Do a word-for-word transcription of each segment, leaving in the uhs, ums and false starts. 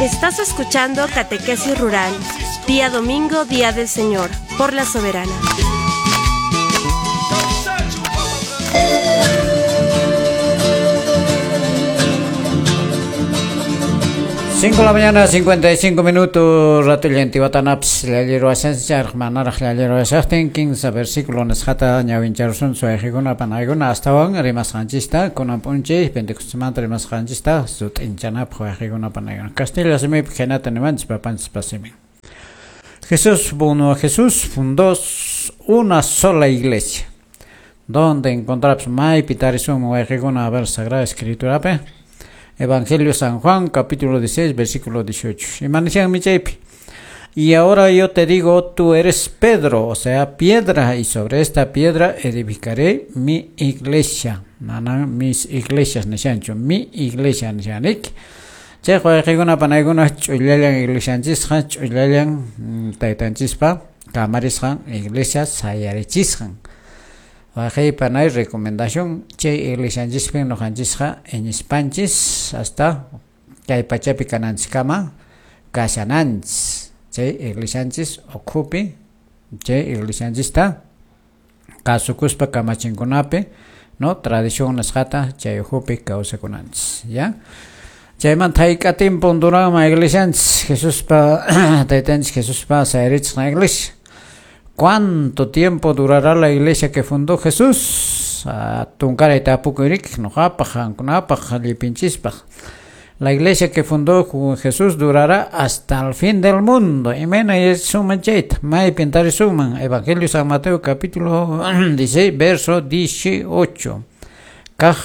Estás escuchando Catequesis Rural, día domingo, día del Señor, por la Soberana. Cinco de la mañana, cincuenta y cinco minutos, ratullanti watanaps, llallero asenchar, manaraj llallero asachtin, quince versículo nesjata, ñawincharsun, suajiguna, panaguna, hasta on, rimasqanchista, kunan p'unchay, Pentecostemanta rimasqanchista, sut'inchanapaq wayqikuna panaguna. Castilla simipi khaynata nimanchis papanchis pasimin. Jesús, bueno, Jesús fundó una sola iglesia. Donde encontramos maypi tarisunman wayqikuna a ver Sagrada Escritura pe. Evangelio San Juan, capítulo dieciséis, versículo dieciocho. Imanishanmi chaypi. Y ahora yo te digo, tú eres Pedro, o sea, piedra, y sobre esta piedra edificaré mi iglesia. Manan mis iglesias nishanchu, mi iglesia nishanik. Chay wayqikuna panaykuna ch'ullallan iglesianchisqa, ch'ullallan taytanchispa kamarisqan iglesia sayarichisqan. Wayqi panay recomendación chay iglesianchispin noqanchisqa iñispanchis hasta kay pachapi kananchiskama kashananchis. Chay iglesianchis ukhupi chay iglesianchista kasukuspa kamachinkunapi no tradición nisqata chay ukhupi kawsakunanchis, ya. Chaymanta hayk'atinpun duranman iglesianchis Jesuspa taytanchis Jesuspa sayarichisqan iglesia. ¿Cuánto tiempo durará la iglesia que fundó Jesús? Tunkaray tapukuy noqapaq, qankunapaq, llipinchispaq. La iglesia que fundó Jesús durará hasta el fin del mundo. Imayna yachasuman chayta, maypin tarisuman. Evangelio San Mateo capítulo dieciséis, verso dieciocho. Kaj,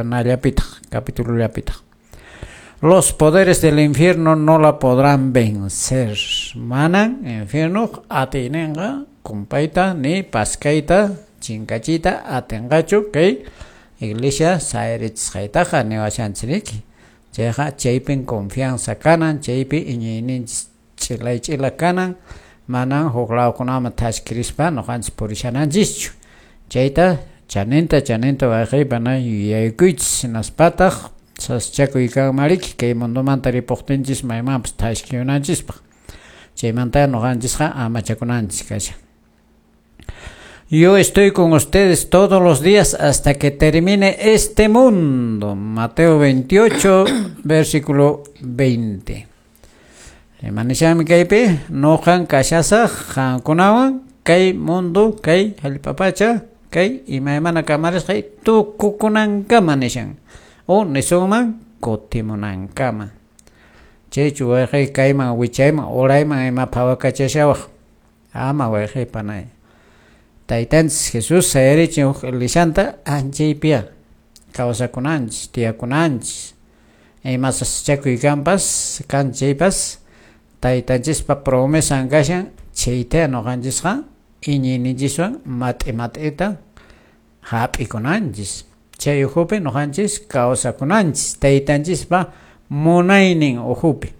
nallapitaq, capítulo llapitaq. Los poderes del infierno no la podrán vencer. Manan infierno atinenga kumpayta ni paskayta chinkachita atinqachu kay iglesia sayarichisqaytaqa niwashanchiriki. Chayqa chaypin confianza kanan, chaypi iñiyninchis ch'ilay ch'ila kanan, manan huk lawkunaman thaskirispa noqanchis purishananchischu. Chayta chaninta chaninta wayqiypana yuyaykuychis hinaspataq saschakuy kanmariki kay mundomanta ripuqtinchis maymanpas thaskiyunanchispaq. Chaymanta noqanchisqa amachakunanchis kashan. Yo estoy con ustedes todos los días hasta que termine este mundo. Mateo veintiocho, versículo veinte. Imanishanmi kaypi noqan kashasaq qankunawan kay mundo kay hallp'apacha kay imaymana kamarisqay tukukunankama nishan. O nisunman kutimunankama. Chaychu wayqi kayman wichayman urayman ima phawakachashawaq. Ama wayqi panay. Taytanchis Jesús sayarichin huk iglesianta anchaypiya kawsakunanchis, tiyakunanchis. Ima sasachakuy kanpas, kan chaypas taytanchispa promesan kashan chayta noqanchisqa iñiyninchiswan mat'i mat'ita hap'ikunanchis. Chay ukhupi noqanchis kawsakunanchis taytanchispa munaynin ukhupi.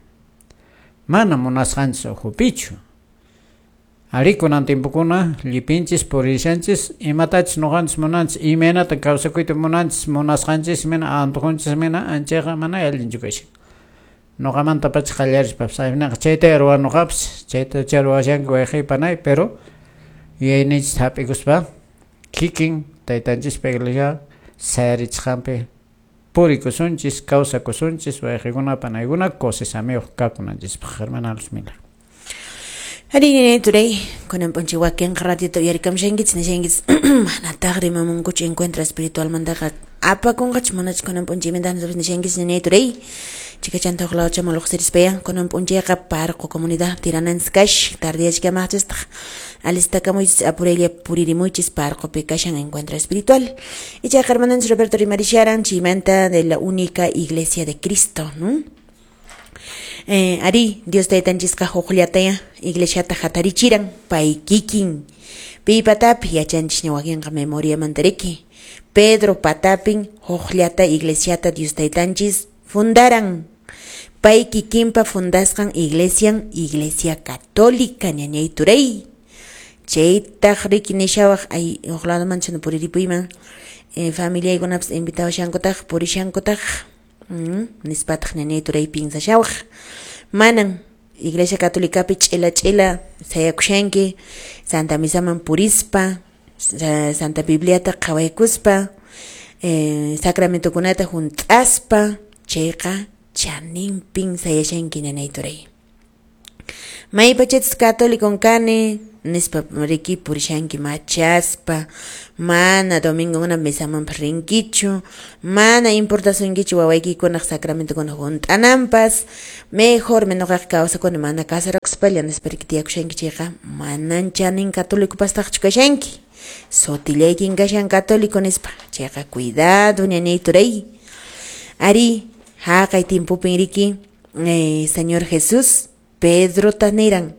Mana munasqanchis ukhupichu. Ari kunan tiempokuna llipinchis purishanchis imatachis noqanchis munanchis imaynata kawsakuyta munanchis munasqanchis mina antoqunchis mina anchayqa mana allinchu kashan. Noqamanta pacha qallarispapas aynaqa chayta ruwanoqapas chayta chay ruwashanki wayqi panay pero yuyayninchis hap'ikuspa kikin taytanchispa iglesia sayarichisqanpi purikusunchis kawsakusunchis wayqikuna panaykuna kusisamiyuq kakunanchispaq. Hermana Luzmila. Ari turay kunan p'unchay wakinqa ratito uyarikamshankichis nishankichis manataq rimamunkuchu encuentro espiritualmantaqa apakunqachu manachu kunan p'unchaymanta nishankichis ñañay turay chikachanta huk lawchaman lluqsirispaya kunan p'unchayqa Parqu comunidad tirananchis kash tardiyachkamaqchistaq alistakamuychis apuraylla puririmuychis Parqupi kashan encuentro espiritual. Ichaqa hermananchis Roberto rimarisharan chaymanta de la única iglesia de Cristo, ¿no? Eh, ari Dios taytanchisqa huqllataya iglesiata hatarichiran pay kikin pi patapi yachanchisña wakinqa memoriamantariki Pedro patapin huqllata iglesiata Dios taytanchis fundaran pay kikinpa fundasqan iglesian iglesia católica ñañay turay chaytaq riki nishawaq ay huk ladoman chana puriripuyman eh, familiaykunapas invitawashankutaq purishankutaq Mm, nispataq ñañay turay pinsashawaq. Manan Iglesia Católicapi ch'ila ch'ila sayakushanki, Santa Misaman purispa, Santa Bibliata qhawaykuspa, eh, sacramentokunata hunt'aspa, chayqa chaninpin sayashanki ñañay turay. Maypachachus católico kani nispa riki purishanki machaspa, mana domingokuna misamanpas rinkichu, mana importasunkichu wawaykikunaq sacramentokuna hunt'ananpas, mejor noqaqa kawsakuni mana casarakuspalla nispa riki tiyakushanki chayqa manan chanin católicopastaqchu kashanki, sutillaykin kashan católico nispa, chayqa cuidado ñañay turay. Ari haqay tiempopin riki eh, Señor Jesús Pedrota niran,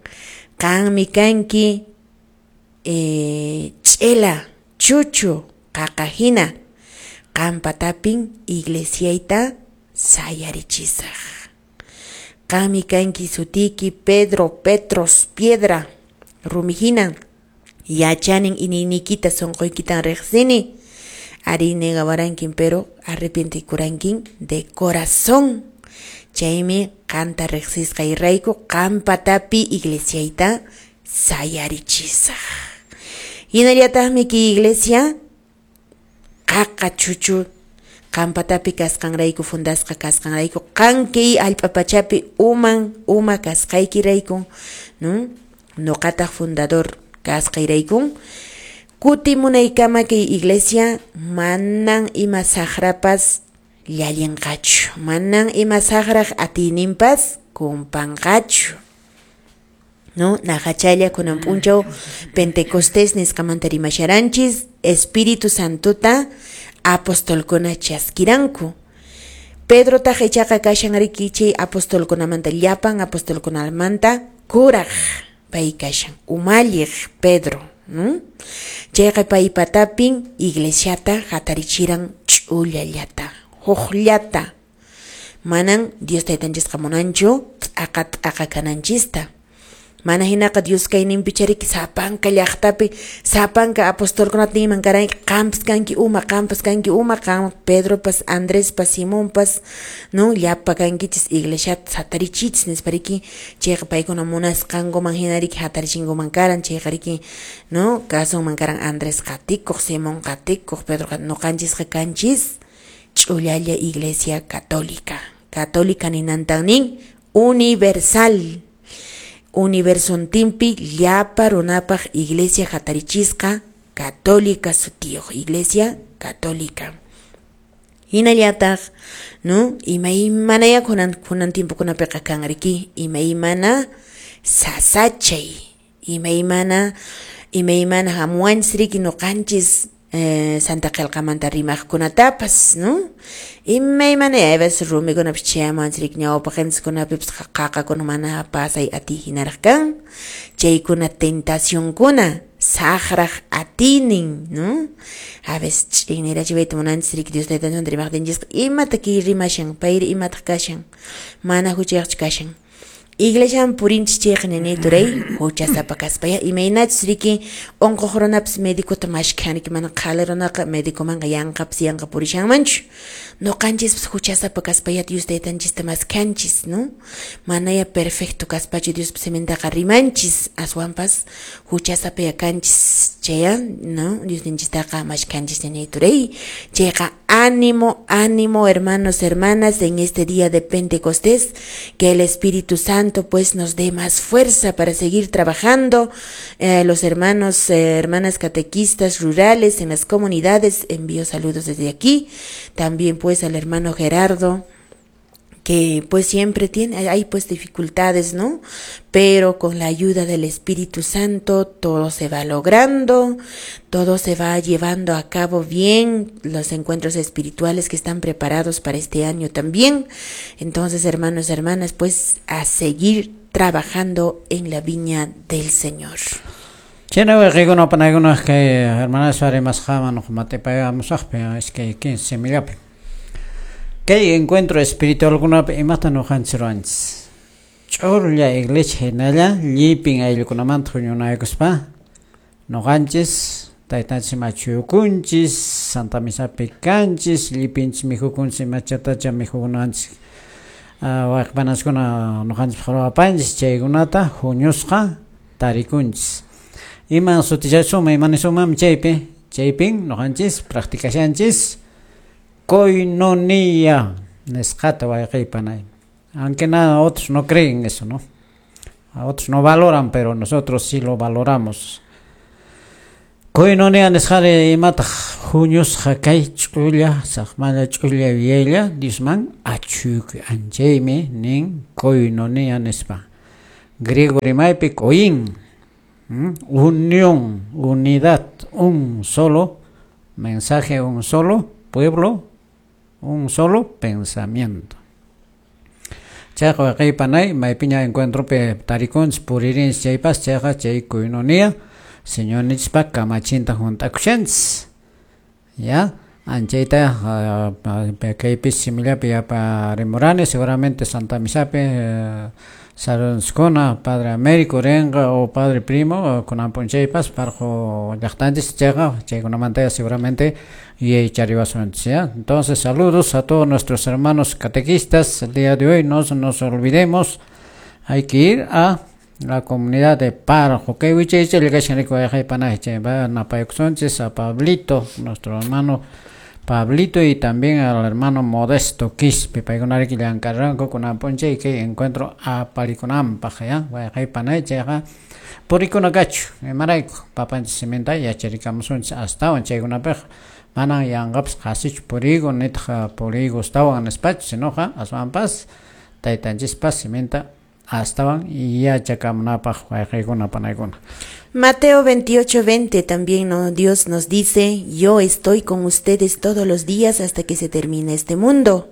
qanmi kanki eh, ch'ela chuchu qaqa hina, qanpatapin iglesiayta sayarichisaq. Qanmi kanki sutiki Pedro, Petros, piedra, rumi hina, yachanin iñiyniykita sunquykitan riqsini. Ari negawarankin pero arrepientikurankin de corazón. Chaymi qanta riqsisqayrayku qanpatapi iglesiayta sayarichisaq. Hinallataqmi kay iglesia qaqa chuchu qanpatapi kasqanrayku fundasqa kasqanrayku qan kay allpa pachapi uman uma kasqaykirayku, no? Nuqataq fundador kasqayrayku kutimunaykama kay iglesia manan ima saqrapas llallinqachu, manan ima saqraq atiyninpas kumpanqachu. No, naqachalla kunan p'unchaw Pentecostés nisqamanta rimasharanchis, Espíritu Santota apostolkuna chaskiranku. Pedrotaq ichaqa kashan riki chay apostolkunamanta llapan apostolkunamanta kuraq pay kashan, umalliq Pedro, no? Chayqa paypatapin iglesiata hatarichiran ch'ullallata, huqllata. Manan Dios taytanchisqa munanchu t'aqa t'aqa kananchista. Mana hinaqa Dios kayninpi riki sapanka llaqtapi sapanka apostolkunata ninman karanki qampas kanki uma, qampas kanki uma, qam Pedropas, Andrespas, Simonpas, no, llapa kankichis iglesiata hatarichichis nispa riki chayqa paykuna munasqankuman hina riki hatarichinkuman karan, chayqa riki, no, kasunman karan Andrés qatikuq, Simón qatikuq, Pedro nuqanchisqa kanchis ch'ullalla Iglesia Católica. Católica ninantan nin universal. Universontinpi llapa runapaq iglesia hatarichisqa católica sutiyuq, Iglesia Católica. Hinallataq, no, imaymanaya kunan kunan tiempokunapiqa kan riki, imaymana sasachay, imaymana imaymana hamuwanchis riki nuqanchis eh, Santa Qillqamanta rimaqkunatapas, no? Imaymana a veces rumikunapas chayamuwanchis riki ñawpaqinchikkunapipas qaqakuna mana pasay atiy hinaraq kan, chaykuna tentacionkuna saqraq atiynin, no? A veces ch'innirachiwayta munanchis riki Dios taytanchismanta rimaqtinchisqa imata kay rimashan, payri imataq kashan, mana huchayuqchu kashan. Iglesiaman purinchis chayqa ñañay turay huchasapa kaspaya imaynachus riki unquq runapas medicota mashkhan riki mana qhali runaqa medicomanqa yanqapas yanqa purishanmanchu. Nuqanchispas huchasapa kaspaya Dios taytanchista maskhanchis, no? Manaya perfecto kaspachu Diospa simintaqa rimanchis, aswanpas huchasapaya kanchis chaya, no? Diosninchistaqa mashkhanchis ñañay turay. Chayqa ánimo, ánimo, hermanos, hermanas, en este día de Pentecostés, que el Espíritu Santo pues nos dé más fuerza para seguir trabajando. Eh, los hermanos, eh, hermanas catequistas rurales en las comunidades, envío saludos desde aquí. También pues al hermano Gerardo, que pues siempre tiene, hay pues dificultades, ¿no? Pero con la ayuda del Espíritu Santo todo se va logrando, todo se va llevando a cabo bien, los encuentros espirituales que están preparados para este año también. Entonces, hermanos, hermanas, pues a seguir trabajando en la viña del Señor. Chayna wayqikuna panaykuna kay hermanas rimasqaman mat'ipaykamusaqpi iskay quince simillapi. Kay encuentro espiritualkunapi imata ñuqanchis ruwanchis. Ch'ulla iglesia hinalla llipin ayllukunamanta huñunaykuspa ñuqanchis taytanchis machuykunchis Santa Misapi kanchis, llipinchis mikhukunchis imachatacha mikhukunanchis wayqipanaskuna nuqanchis ruwapanchis chaykunata huñusqa tarikunchis. Iman sutichasuma imanisumam chaypi chaypin nuqanchis practicashanchis koinonía nisqata wayqipanay. Aunque nada, otros no creen eso, ¿no? Otros no valoran, pero nosotros sí lo valoramos. Koinonía nisqari imataq huñusqa kay ch'ulla saqmalla ch'ulla yuyaylla Diosman achuykuy anchaymi nin koinonía nispa. Griego rimaypi koin, unión, unidad, un solo mensaje, un solo pueblo, un solo pensamiento. Chayqa wayqipanay maypiña encuentropi tarikunchis puririnchis chaypas chayqa chay koinonía Señornichispa kamachinta hunt'akushanchis. Ya, anchayta kaypi simillapi yaparimurani seguramente Santa Misapi saludskuna Padre Américo rinqa o Padre Primo kunan p'unchaypas parqu llaqtanchis chayqa chaykunamanta seguramente yuyaychariwasunchis, ¿ya? Entonces saludos a todos nuestros hermanos catequistas. El día de hoy no nos olvidemos, hay que ir a la comunidad de Parjo. Que a Pablito, nuestro hermano Pablito, y también al hermano Modesto Quispe, paykunariki llank'arqanku kunan p'unchay kay encuentro aparikunanpaq, ya wayqaypanay chayqa purikuna kachu imarayku papanchis siminta yacharikamusunchis astawan chaykunapiqa manan yanqapas qasichu puriyku nitaq puriyku astawan nispachu sinoqa aswanpas taytanchispas siminta astawan yachakamunapaq wayqaykuna panaykuna. Mateo veintiocho veinte también, ¿no? Dios nos dice, yo estoy con ustedes todos los días hasta que se termine este mundo.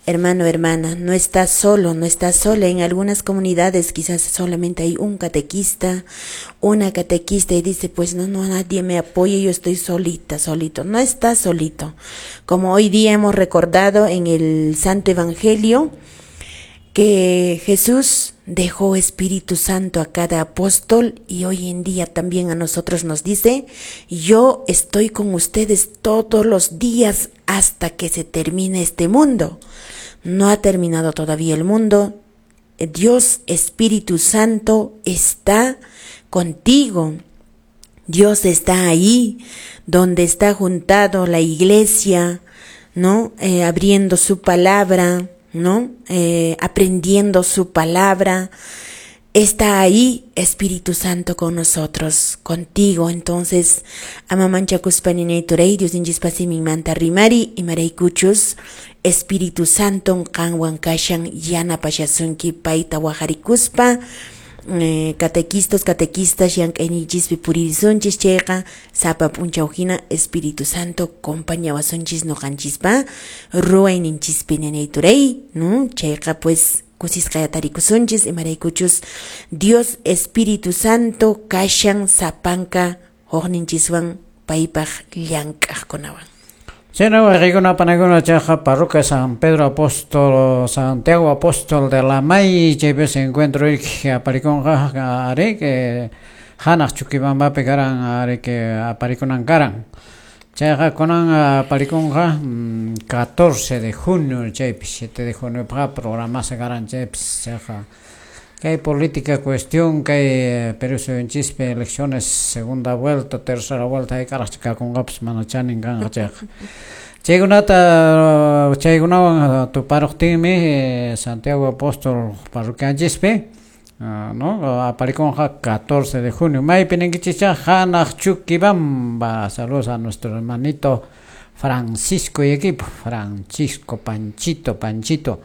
Hermano, hermana, no estás solo, no estás sola. En algunas comunidades quizás solamente hay un catequista, una catequista, y dice, pues no, no, nadie me apoya, yo estoy solita, solito. No estás solito. Como hoy día hemos recordado en el Santo Evangelio, que Jesús dejó Espíritu Santo a cada apóstol, y hoy en día también a nosotros nos dice, yo estoy con ustedes todos los días hasta que se termine este mundo. No ha terminado todavía el mundo. Dios Espíritu Santo está contigo. Dios está ahí donde está juntado la iglesia, ¿no? Eh, abriendo su palabra, ¿no? Eh, aprendiendo su palabra. Está ahí Espíritu Santo con nosotros, contigo. Entonces, amamanchakuspa ninayturay, Dios ninchispa siminmanta rimari, imaraykuchus, Espíritu Santo qanwan kashan yanapashasunki payta waqarikuspa, eh, catequistas, catequistas, llank'ayninchispi puririsunchis chayqa, sapa p'unchaw hina Espíritu Santo compañawasunchis nuqanchispa ruwayninchispi ninayturay, ¿no? Chayqa pues kusisqa tarikusunchis imaraykuchus Dios Espíritu Santo kashan sapanka hukninchiswan paypaq llank'aqkunawan. Chayna wayqikuna panaykuna chayqa parroquia San Pedro Apóstol, Santiago Apóstol de la May, chaypi se encuentro aparikunqa ari que hanaq Chuquibambapi karan ari que aparikunan karan. Chayqa kunan aparikunqa catorce de junio chaypi siete de junio paqa programasqa karan chaypis chayqa kay política cuestión kay Perú suyunchispi elecciones segunda vuelta, tercera vuelta hayk'araq kakunqapas mana chanin kanqa chayqa. Chaykunata chaykunawan tuparuqtinmi Santiago Apóstol parroquianchispi no aparikunqa catorce de junio. Maypi ninkichis hanaq Chuquibamba. Saludos a nuestro hermanito Francisco y equipo, Francisco Panchito, Panchito.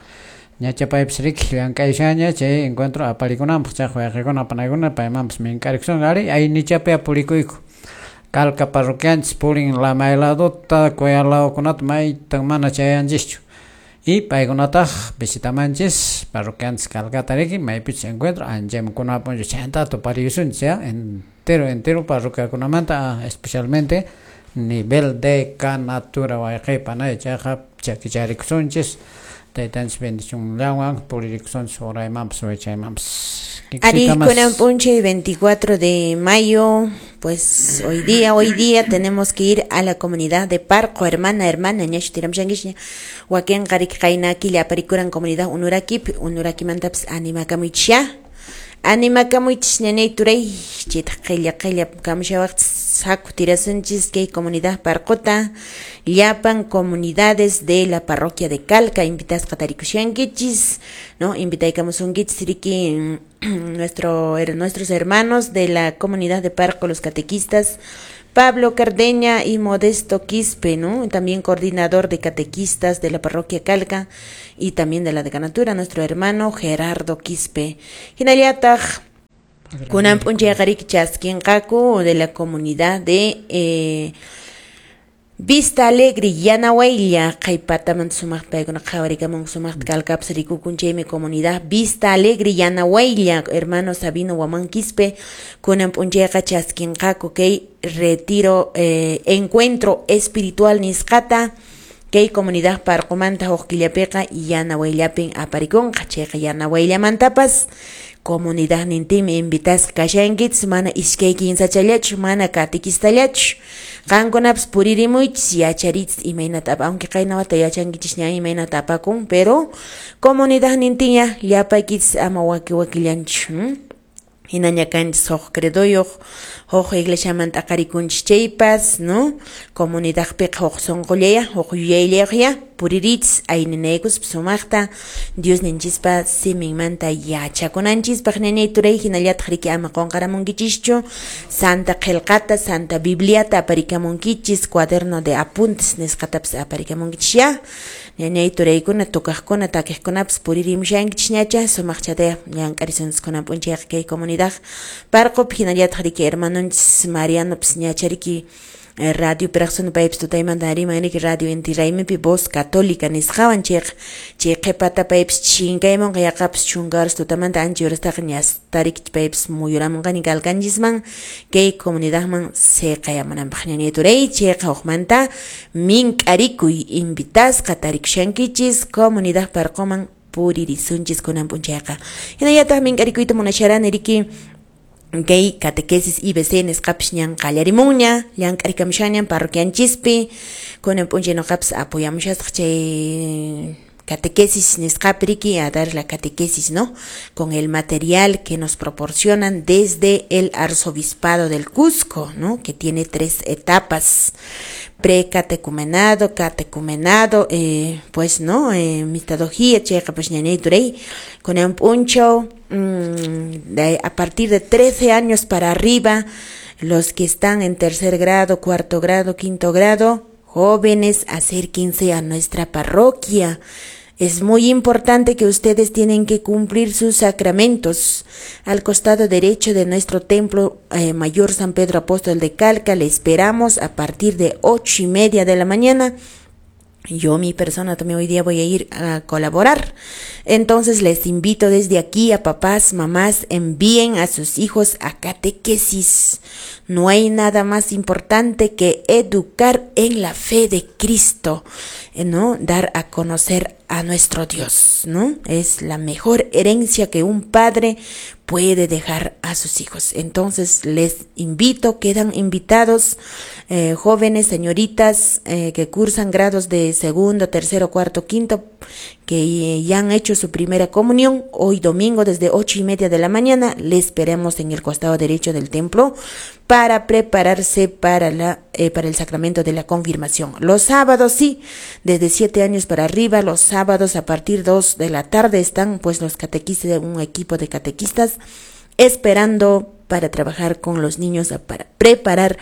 Ñachapaypis riki llank'ayshaña chay encuentro aparikunanpaq chay wayqikuna panaykuna paymanpas mink'arikusun ari aynichapi apurikuyku. Calca parroquianchis purin Lamayladota, Coyaladokunata maytan mana chayanchischu. Y paykunataq visitamanchis parroquianchis Calcata riki maypichus encuentro anchayman kunapunchu chayanta tupariyusunchis ya entero entero parroquiakunamanta especialmente nivel de canatura wayqipanay chayqa chakicharikusunchis. Taytanchis bendicionllawan puririkusunchis uraymanpas wichaymanpas. Ari kunan p'unchay veinticuatro de mayo Pues hoy día, hoy día tenemos que ir a la comunidad de Parco, hermana, hermana, ñachu tiramshankishña, wakinqa riki qayna killa aparikuran comunidad Unurakipi, Unurakimantapas animakamuychisya, animakamuychis ñañay turay, chaytaq qilla qilla kamushawaqchis haku tirasunchis kay comunidad Parcota, llapan comunidades de la parroquia de Calca, invitasqa tarikushankichis, ¿no? Invitaykamusunkichis riki nuestro, nuestros hermanos de la comunidad de Parco, los catequistas, Pablo Cardeña y Modesto Quispe, ¿no? También coordinador de catequistas de la parroquia Calca y también de la decanatura, nuestro hermano Gerardo Quispe. Hinallataq, kunan p'unchayqa riki chaskinqaku de la comunidad de eh, Vista Alegre, Yanawaylla, qhaypatamanta sumaqta paykuna qhawarikamunku sumaqta Calcapas rikukun chaymi comunidad Vista Alegre, Yanawaylla, hermano Sabino Huamán Quispe, kunan p'unchayqa chaskinqaku kay retiro, eh, encuentro espiritual nisqata, kay comunidad Parqumanta huk killapiqa Yanawayllapin aparikunqa, chayqa Yanawayllamantapas comunidad nintimi invitasqa kashankichis, mana iskay kinsachallachu, mana katequistallachu, qankunapas puririmuychis, yacharichis imaynata, aunque qayna wata yachankichis ña imaynata apakun, pero comunidad nintiña llapaykichis ama waki wakillanchu, hmm? Hinaña kanchis huk credoyuq, huk iglesiamanta aqarikunchis chaypas, ¿no? Comunidadpiqa huk sunqullaya, huk yuyayllayuqya puririchis ayninaykuspa sumaqta Dios ninchispa siminmanta yachakunanchispaq ñañay turay, hinallataq riki ama qunqaramunkichischu Santa Qillqata, Santa Bibliata aparikamunkichis, cuaderno de apuntes nisqatapas aparikamunkichis ya. Ñañay turaykuna, tocaqkuna, takiqkunapas puririmushankichis ñacha, sumaqchataya llank'arisunchis kunan p'unchayqa kay comunidad Parqopi, hinallataq riki hermanonchis Marianopas ñacha riki radio piraqsuna paypas tutaymanta riman riki radio Inti Raymipi Voz Católica nisqawan, chayqa chay qhipata paypas chinkaymunqa yaqapas chunka horas tutamanta ancha horastaqa ñasta riki paypas muyuramunqani Calcanchisman kay comunidadman siqayamunanpaq ñañay turay, chayqa hukmanta mink'arikuy invitasqa tarikushankichis comunidad Parqoman puririsunchis kunan p'unchayqa. Hinallataq mink'arikuyta munasharani riki kay catequesis I B C nisqapis ñan qallarimunña, llank'arikamushañan parroquianchispi, kunan p'unchay nuqapas apoyamushasaq chay catequesis nisqapi riki, a dar la catequesis, ¿no? Con el material que nos proporcionan desde el arzobispado del Cusco, ¿no? Que tiene tres etapas: precatecumenado, catecumenado, eh, pues, ¿no? Eh, mistadogía, chayqa pues ñañay turay, kunan p'unchaw, mmm, de, a partir de trece años para arriba, los que están en tercer grado, cuarto grado, quinto grado, jóvenes, acérquense a nuestra parroquia. Es muy importante que ustedes tienen que cumplir sus sacramentos. Al costado derecho de nuestro templo eh, mayor San Pedro Apóstol de Calca, le esperamos a partir de ocho y media de la mañana. Yo, mi persona, también hoy día voy a ir a colaborar. Entonces les invito desde aquí a papás, mamás, envíen a sus hijos a catequesis. No hay nada más importante que educar en la fe de Cristo, ¿no? Dar a conocer a nuestro Dios, ¿no? Es la mejor herencia que un padre puede dejar a sus hijos. Entonces les invito, quedan invitados eh, jóvenes, señoritas eh, que cursan grados de segundo, tercero, cuarto, quinto, que ya han hecho su primera comunión. Hoy domingo desde ocho y media de la mañana les esperamos en el costado derecho del templo para prepararse para la eh, para el sacramento de la confirmación. Los sábados sí, desde siete años para arriba, los sábados a partir de dos de la tarde están pues los catequistas, un equipo de catequistas esperando para trabajar con los niños, para preparar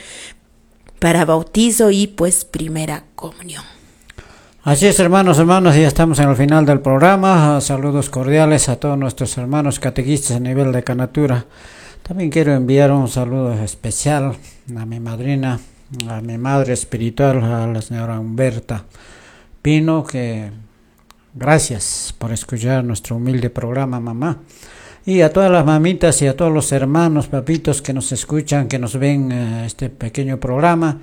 para bautizo y pues primera comunión. Así es, hermanos, hermanas, ya estamos en el final del programa. Saludos cordiales a todos nuestros hermanos catequistas a nivel de Canatura. También quiero enviar un saludo especial a mi madrina, a mi madre espiritual, a la señora Humberta Pino, que gracias por escuchar nuestro humilde programa, mamá. Y a todas las mamitas y a todos los hermanos, papitos que nos escuchan, que nos ven eh, este pequeño programa.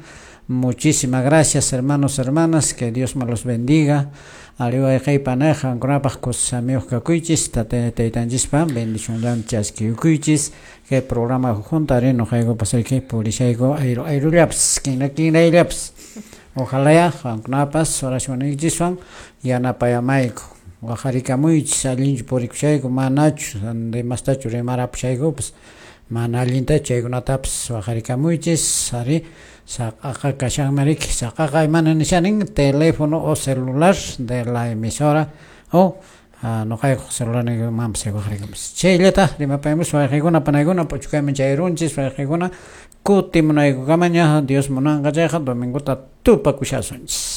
Muchísimas gracias, hermanos, hermanas, que Dios me los bendiga. Ariwayqay panay qankunapaq kusamiyuq kakuychis, taytanchispa bendicionlan chaskiyukuychis. Kay programa junta ari noqaykupas riki purishayku ayru ayrullapas kinra kinrayllapas. Ojalá ya qankunapas oracionniykichiswan yanapayamayku. Waqarikamuychis allinchu purikushayku manachu rimastachu rimarapusaykupas mana allintachu chaykunatapas waqarikamuychis ari saqaqa kashanmi riki saqaqa imana nishanin teléfono o celular de la emisora o noqaykuq celularniykumanpas waqarikamus chayllata rimapayamus wayqikuna panaykuna p'uchukayman chayrunchis wayqikuna kutimunaykukamaña Dios munanqa chayqa domingota tupakushasunchis.